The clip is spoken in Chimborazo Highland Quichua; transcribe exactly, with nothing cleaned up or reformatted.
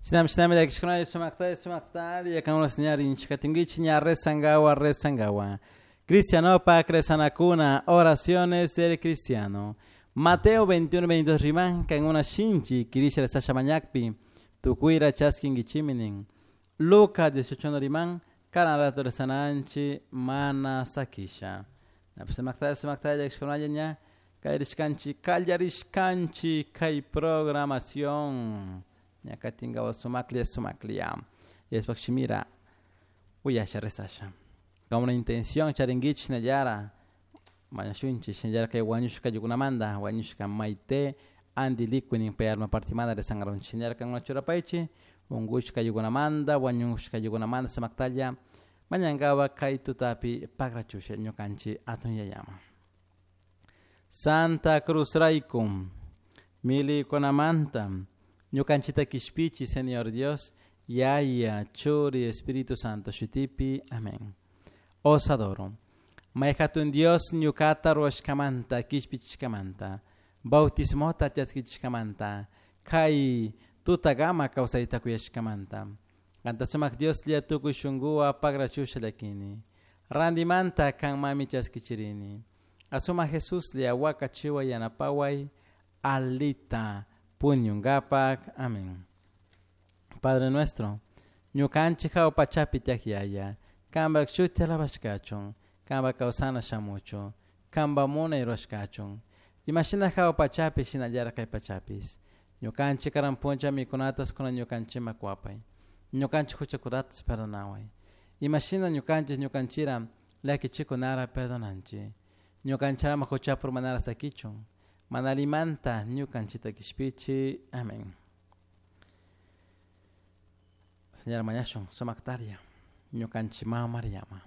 Shinami shinami llakishkunalla sumaktalla sumaktalla kankuna señal rinchikatinkichik ña rezangawa rezangawa. Cristianopak rezanakuna, oraciones del cristiano. Mateo veintiuno veintidós riman kankuna shinchi kirisha rezasha mañakpi tukuyra chaskinkichimi nin. Lucas dieciocho riman karan rato rezananchi mana sakisha. Sumaktalla sumaktalla llakishkunalla ña kallarishkanchi kallarishkanchi kay programación. Ña katingawa sumaklia sumaklia. Yashpak shimira uyasha rezasha. Con una intención charinguich nayara mañashunchi shinayara kay wañushka yukunamanta wañushka maite andilikunin payarma partimanda rezangaron shinayara kan churapaichi ungushka yukunamanta wañushka yukunamanta sumaktalla mañangawa kay tutapi pakrachusha ñukanchi atun yayama. Santa Cruz raykum milikunamanta ñukanchita kishpichi Señor Dios Yaya Churi Espíritu Santo shutipi amén. Os adoro. Mayhatun Dios ñukata ruwashkamanta kishpichishkamanta bautismota chaskichishkamanta kay tutagama kawsayta kuyashkamanta kanta sumak Dios lla tukuy shunkuwa pagrachusha llakini randimanta kanmami chaskichirini asuma Jesús lla wakachiwa yanapaway alita puñungapak amén. Padre nuestro ñukanchik hawa pachapi tiyak yaya kanpak shuti alabashkachun kanpak kawsana shamuchun kanpak munay rurashkachun imashina hawa pachapi shinallara kay pachapis ñukanchik karan puncha mikunatas kunan ñukanchikman kuwapay ñukanchik huchakunatas perdonaway imashina ñukanchik ñukanchira llakichikunara perdonanchik ñukanchirama huchapur manara sakichun mana allimanta ñukanchita kishpichi amén. Señora mañashun sumaktaria ñukanchik mama Mariama.